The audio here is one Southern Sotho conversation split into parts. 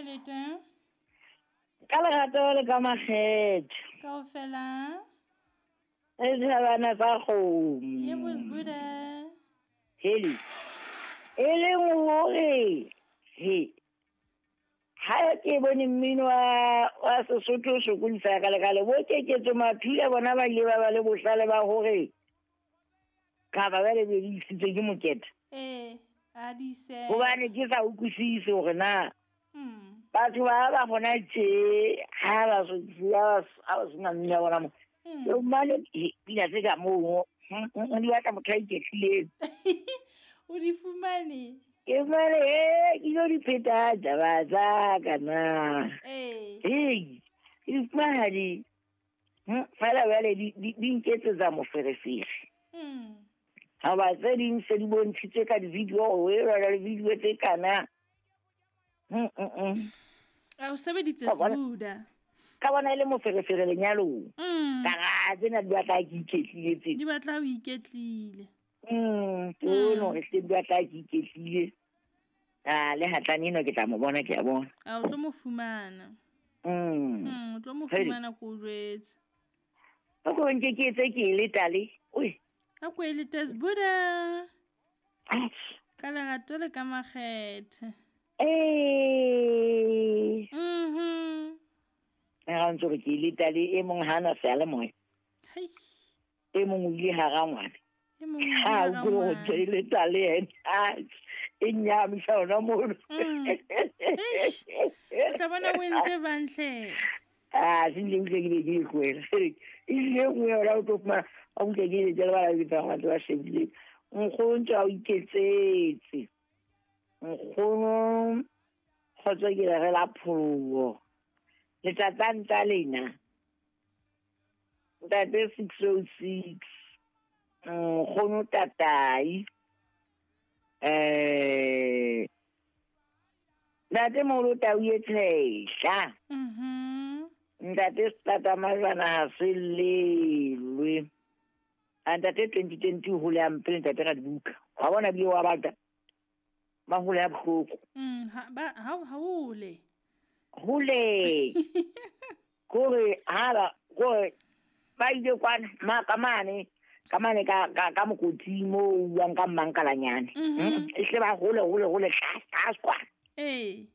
Kae le teng? Ka lerato le ka makgethe. Kaofela. Re thabana tsa kgomo. Yebo Sbuda. Heli. E leng hore he ha ke bone mmino wa Sesotho o sokodisa ka lekale bo keketso maphile bona ba ile ba ba le bohlale ba hore kapa ba le be di isitswe ke mokete. Ee, a di ise. Hobane ke sa utlwisise hore na batho ba ba gona tje ha ba ha ba sena mmino wa bona mo. Ke mane pina tse ka moo di batla motho a iketlileng. O di fumane? Ke fumane ke lo di pheta taba tsa ka na. Ee. Ee, ke di fumana di fela jwale di nketsetsa moferefere. Ha ba tse ding se di bontshitswe ka di-video, o e rwala le video tse kana. A o sebeditse Ka bona- Sbuda. Ka bona e le moferefere lenyalong. Ka ra tsena di batla ke iketlile tse. Di batla o iketlile. Ke bone hore hle di batla ke iketlile. Ah, le hatlane eno ke tla mo bona, ke a bona. A o tlo mo fumana. O tlo mo Hei. fumana ko o jwetse. O ko nke ke etse ke e letale. Oi. A ko e lete Sbuda. Atjhe. Ka lerato le ka makgethe. Ee. Ra ntse re ke e letale e mong ha na seyalemoya. Hei. E mong o ile hara ngwana. E mong o ile Ha, hara o utlwe hore ngwana. ke e letale yena. Atjhe, e nnyamisa hona mono. Eish. O tla bona o entse bantle. Ah, se ile utlwe ke be ke e tlohela. E ile e nngwe yona o tlo fumana, wa utlwa ke ile jwale ba la betsa batho ba shebile. Nkgono ntse a o iketsetse. Nkgono kgotso ke le re la pholoho. Letsatsang tsa lena. Ntate 606. Nkgono tatai. Ntate moholo tau e tshehla. Ntate Stata Majwana ha se lelwe. A ntate 2020 hole a mpele ntate Radibuka. Wa bona bile wa batla. Ba hole ya bohloko. Ha, ba, ha, ha hole. Hole. Kore ha ba, kore ba ile kwana, ma, ka mane, ka mane ka, ka, ka mokoting moo o buang ka mmankalanyane. E hle ba hole, hole, hole, tlase, tlase kwana. Ee.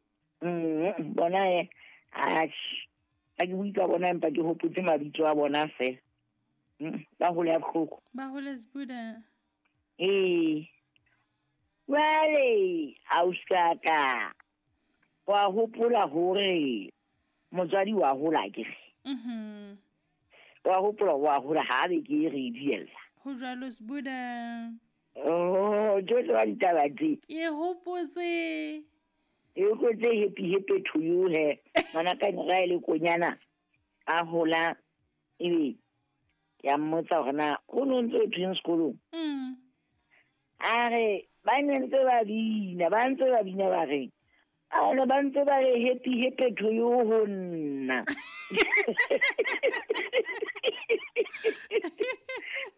Bona e, atjhe. Ha ke bue ka bona empa ke hopotse mabitso a bona fela. Ba hole ya bohloko. Ba hole Sbuda. Ee. Jwale, ausi ka, wa hopola hore motswadi wa hola akere? Wa hopola wa hola ha be ke re diella. Ho jwalo Sbuda. Oh, tsohle wa ditaba tse. Ke hopotse. E hopotse happy happy to you he. Ngwana ka nra e le konyana a hola ebe ke a mmotsa hore na ho no ntse o thweng sekolong? A re ba ne ntse ba bina, ba ntse ba bina ba reng? A re ba ntse ba re happy happy to you ho nna.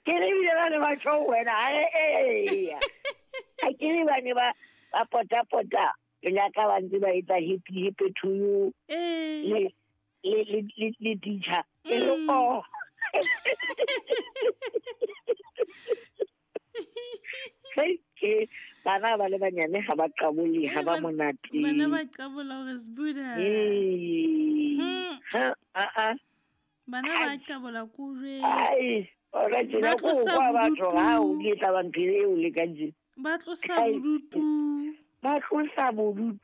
Ke re ebile ba ne ba tjho ho wena, a re eya. Ha ke re ba ne ba pota-pota pela ka ba ntse ba etsa happy happy to you. Ee. Le teacher. E re, oh. Hei, ke bana ba le banyane ha ba qabole, ha ba monate. Bana ba qabola hore Sbuda. Ee. Ha, a, a. Bana ba qabola ko jwetse. Ai, ora tjena Ba ko tlosa kwa batho bodutu. ha o ke tla ba ntho eo le ka nje. Ba tlosa Ai. bodutu. Ba tlosa bodutu.